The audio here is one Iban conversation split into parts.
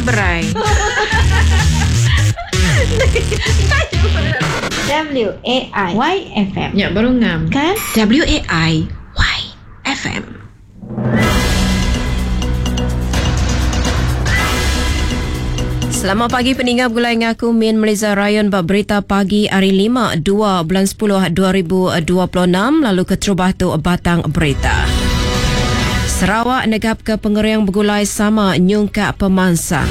Seberai. W A I Y F M. Nya baru ngam. Kan? W A I Y F M. Selamat pagi peningga begulai dengan aku Min Meliza Ryan ba berita pagi hari 5 2 bulan 10 2026 lalu keterubah tu batang berita. Sarawak negap ke pengering begulai sama nyungkak pemansang.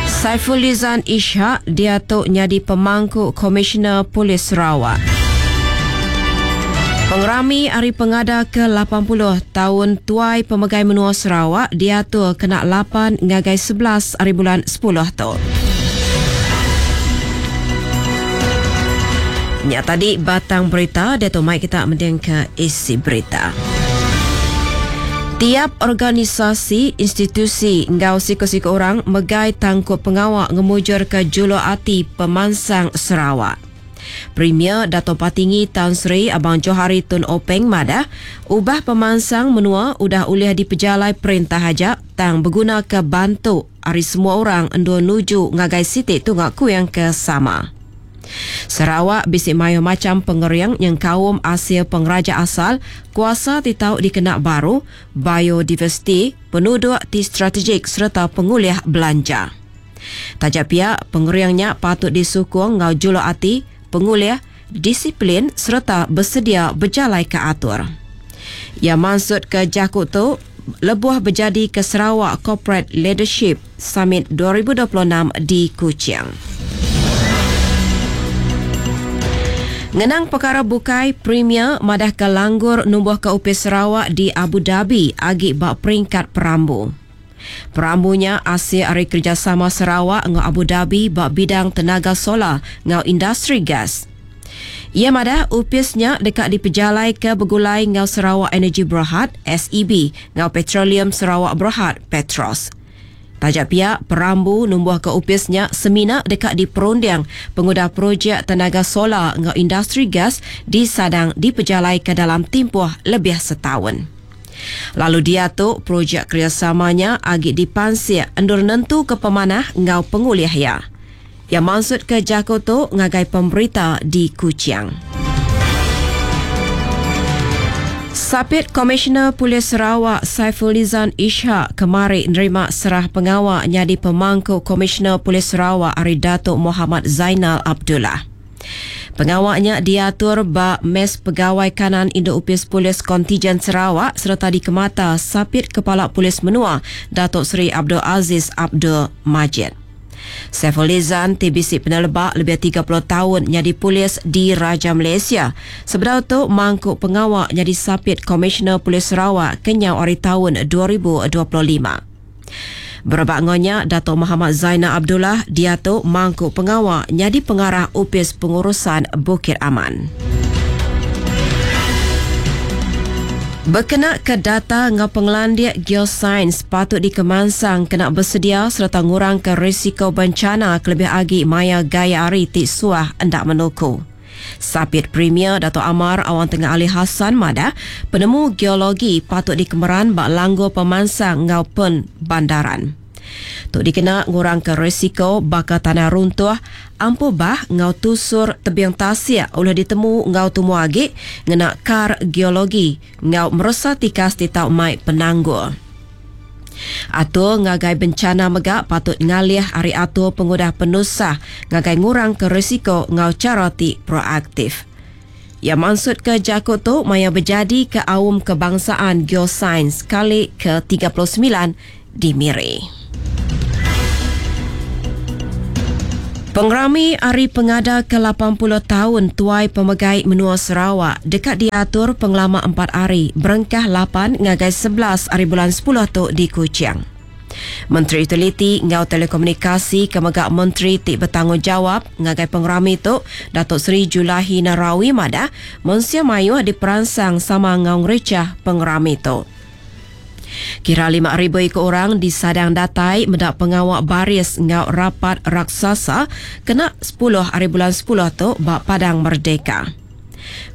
Saiful Lizan Ishak dia tu nyadi pemangku Komisioner Polis Sarawak. Pengerami Hari Pengada ke-80 tahun Tuai Pemegai Menua Sarawak diatur kena 8 ngagai 11 hari bulan 10 tu. Nya tadi batang berita dia tu mai kita mending ke isi berita. Tiap organisasi, institusi enggau siku-siku orang megai tangkup pengawa ngemujur ke juluk ati pemansang Sarawak. Premier Dato Patinggi Tan Sri Abang Johari Tun Openg madah, ubah pemansang menua udah ulih dipejalai perintah aja tang beguna ke bantu ari semua orang endur nuju ngagai siti tunga kuing ke sama. Sarawak bisi mayuh macam pengering nyengkaum asil pengeraja asal, kuasa ti tau dikena baru, biodiversiti, penuduk ti strategik sereta pengulih belanja. Taja pia, pengering nya patut disukung enggau juluk ati, pengulih, disiplin sereta besedia bejalaika atur. Iya mansutka jaku tu lebuh bejadika Sarawak Corporate Leadership Summit 2026 di Kuching. Ngenang perkara bukai, Premier madahka langgur numbuhka Opis Sarawak di Abu Dhabi agi ba peringkat perambu. Perambu nya asil ari kerejasama Sarawak enggau Abu Dhabi ba bidang tenaga solar enggau industri gas. Iya madah opis nya deka dipejalaika begulai enggau Sarawak Energy Berhad, SEB, enggau Petroleum Sarawak Berhad, Petros. Taja pia, perambu numbuhka opis nya semina deka diperunding pengudah projek tenaga solar enggau industri gas disadang dipejalaika dalam timpuh lebih setaun. Lalu diatu projek kerejasama nya agi dipansik endur nentuka pemanah enggau pengulih iya. Iya mansutka jaku tu ngagai pemberita di Kuching. Sapit Komisioner Polis Sarawak Saiful Nizan Ishak kemari nerima serah pengawa nyadi pemangku Komisioner Polis Sarawak ari Datuk Muhammad Zainal Abdullah. Pengawa nya diatur ba Mes Pegawai Kanan Induk Opis Polis Kontijen Sarawak sereta dikemata Sapit Kepala Polis Menua Datuk Seri Abdul Aziz Abdul Majid. Saiful Lizan ti bisi peneleba lebih 30 taun nyadi polis di Raja Malaysia sebedau tu mangku pengawa nyadi Sapit Komisioner Polis Sarawak kenyau ari taun 2025. Berebak enggau nya, Dato Muhammad Zainal Abdullah diatu mangku pengawa nyadi pengarah Opis Pengurusan Bukit Aman. Bekena ke data enggau pengelandik geosains patut dikemansang kena besedia sereta ngurangka risiko bencana kelebih agi maya gaya hari ti suah enda menuku. Sapit Premier Datuk Amar Awang Tengah Ali Hassan madah, penemu geologi patut dikemeran ba langgur pemansang enggau penbandaran. Tu dikena ngurangka risiko baka tanah runtuh, ampuh bah enggau tusur tebing tasik ulih ditemu enggau tumu agi ngena kar geologi enggau meresa tikas ti tau mai penanggul. Atur ngagai bencana mega patut ngalih ari atur pengudah penusah ngagai ngurangka risiko enggau chara ti proaktif. Iya mansutka jaku tu maya bejadika Aum Kebangsaan Geosains kali ke 39 di Miri. Pengerami Hari Pengada ke 80 taun Tuai Pemegai Menua Sarawak deka diatur pengelama 4 hari berengkah 8 ngagai 11 hari bulan 10 tu di Kuching. Menteri Utiliti enggau Telekomunikasi ke mega Menteri ti betanggungjawab ngagai pengerami tu Datuk Seri Julaihi Narawi madah mensia mayuh diperansang sama enggau ngerichah pengerami tu. Kira 5,000 iku orang disadang datai meda pengawa baris enggau rapat raksasa kena 10 hari bulan 10 tu ba Padang Merdeka.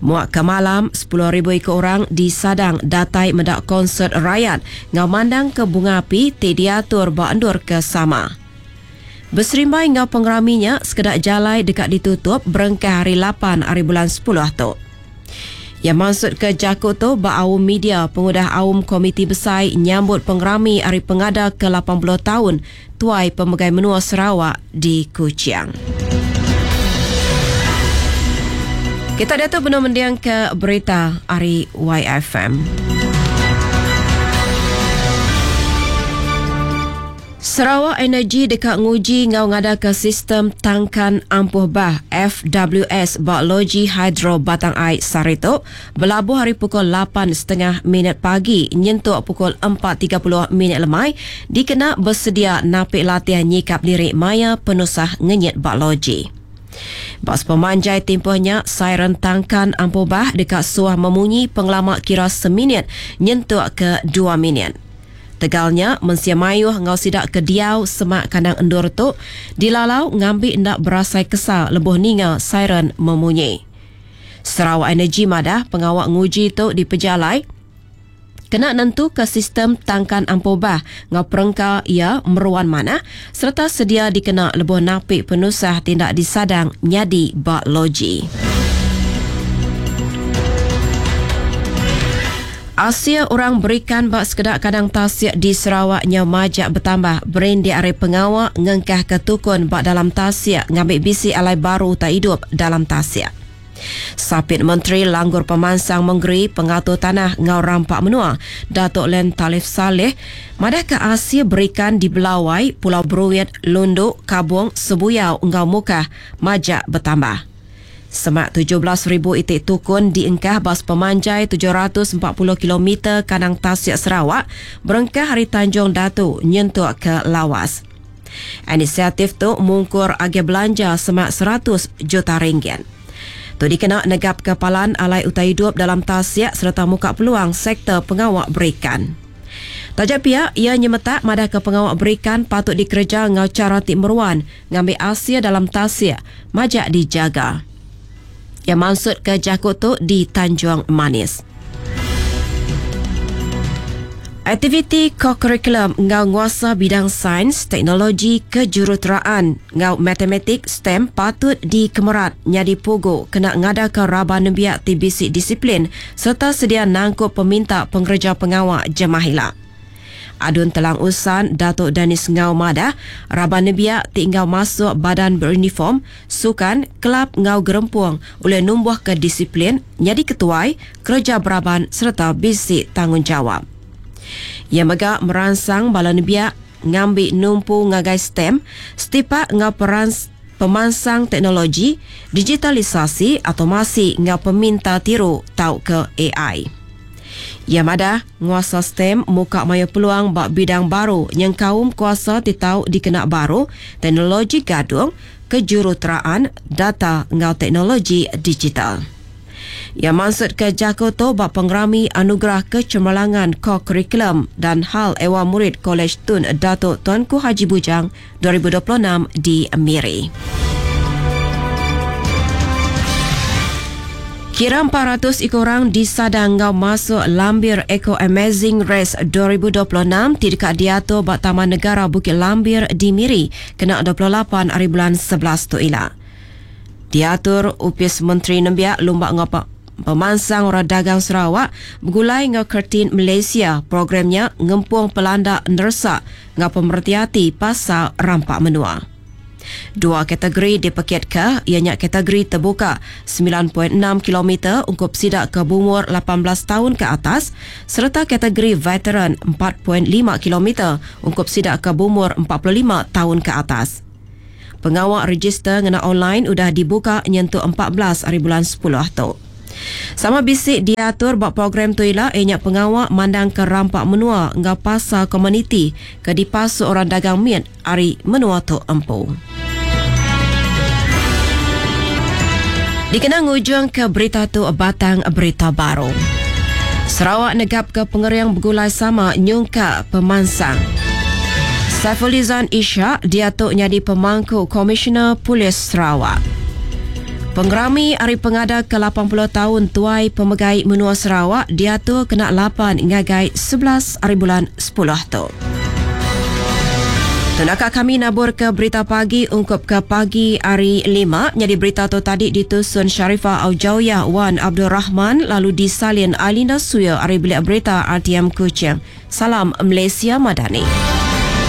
Muak ke malam, 10,000 iku orang disadang datai meda konsert rayat enggau mandangka bunga api ti diatur ba endur ke sama. Beserimbai enggau pengerami nya, sekeda jalai deka ditutup berengkah ari lapan ari bulan sepuluh tu. Iya mansutka jaku tu ba aum media pengudah aum Komiti Besai nyambut pengerami Hari Pengada ke 80 taun Tuai Pemegai Menua Sarawak di Kuching. Kita diatu benung mendingka berita ari YFM. Sarawak Energy deka nguji enggau ngadaka sistem tangkan ampuh bah, FWS, ba Loji Hidro Batang Ai sehari tu belabuh ari pukul lapan setengah minit pagi nyentuk pukul 4.30 minit lemai dikena besedia napi latih nyikap diri maya penusah ngenyit ba loji. Ba sepemanjai timpuh nya, siren tangkan ampuh bah deka suah memunyi pengelama kira seminit nyentuk ke dua minit. Tegal nya, mensia mayuh enggau sida ke diau semak kandang endur tu dilalau ngambi enda berasai kesal lebuh ninga siren memunyi. Sarawak Energy madah pengawa nguji tu dipejalai kena nentuka sistem tangkan ampuh bah enggau perengka iya meruan manah sereta sedia dikena lebuh napi penusah ti enda disadang nyadi ba loji. Asil orang berikan ba sekeda kandang tasik di Sarawak nyau majak betambah berindik ari pengawa ngengkahka tukun ba dalam tasik ngambi bisi alai baru utai idup dalam tasik. Sapit Menteri Langgur Pemansang Mengeri, Pengatur Tanah enggau Rampa Menua, Datuk Len Talif Salleh madahka asil berikan di Belawai, Pulau Bruit, Lundu, Kabong, Sebuyau enggau Mukah majak betambah. Semak 17,000 iti tukun diengkah ba sepemanjai 740 kilometer kandang tasik Sarawak berengkah ari Tanjung Datu nyentuk ke Lawas. Inisiatif tu mungkur agih belanja semak 100 juta ringgit. Tu dikena negapka palan alai utai idup dalam tasik sereta muka peluang sektor pengawa berikan. Taja pia, iya nyemetak madahka pengawa berikan patut dikereja enggau chara ti meruan ngambi asil dalam tasik majak dijaga. Iya mansutka jaku tu di Tanjung Manis. Aktiviti kokurikulum enggau nguasa bidang sains, teknologi, kejuruteraan enggau matematik, STEM, patut dikemerat nyadi pugu kena ngadaka raban nembiak ti bisi disiplin sereta sedia nangkup peminta pengereja pengawa jemah ila. Adun Telang Usan, Datuk Dennis Ngau madah, raban nembiak ti enggau masuk badan beruniform, sukan, kelab enggau gerempung ulih numbuhka disiplin, nyadi ketuai, kereja beraban sereta bisi tanggungjawap. Iya mega meransang bala nembiak ngambi numpu ngagai STEM setipak enggau perans pemansang teknologi, digitalisasi, automasi enggau peminta tiru tauka ai. Iya madah, nguasa STEM muka mayuh peluang ba bidang baru nyengkaum kuasa ti tau dikena baru, teknologi gadung, kejuruteraan, data enggau teknologi digital. Iya mansutka jaku tu ba Pengerami Anugerah Kecemerlangan Kokurikulum dan Hal Ehwal Murid Kolej Tun Datuk Tuanku Haji Bujang 2026 di Miri. Kira 400 iku orang disadang enggau masuk Lambir Eco Amazing Race 2026 ti deka diatur ba Taman Negara Bukit Lambir di Miri kena 28 ari bulan 11 tu ila. Diatur Opis Menteri Nembiak Lumba enggau Pemansang Orang Dagang Sarawak begulai enggau Kertin Malaysia, program nya ngempung pelanda neresa enggau pemereti ati pasal rampa menua. Dua kategori dipekitka iya nya kategori tebuka 9.6 kilometer ungkup sida ke beumur 18 taun ke atas sereta kategori veteran 4.5 kilometer ungkup sida ke beumur 45 taun ke atas. Pengawa rejister ngena online udah dibuka nyentuk 14 ari bulan sepuluh tu. Sama bisi diatur ba program tu ila iya nya pengawa mandangka rampa menua enggau pasar komuniti ke dipasuk orang dagang mit ari menua tu empu. Dikena ngujungka berita tu batang berita baru. Sarawak negapka pengering begulai sama nyungkak pemansang. Saifulizan Ishak diatu nyadi pemangku Komisioner Polis Sarawak. Pengerami Hari Pengada ke 80 taun Tuai Pemegai Menua Sarawak diatur kena 8 ngagai 11 hari bulan 10 tu. Tu naka kami nabur ke berita pagi ungkup ke pagi hari 5. Nyadi berita tu tadi ditusun Sharifah Aujawiyah Wan Abdul Rahman lalu disalin Alina Suya ari Bilik Berita RTM Kuching. Salam Malaysia Madani.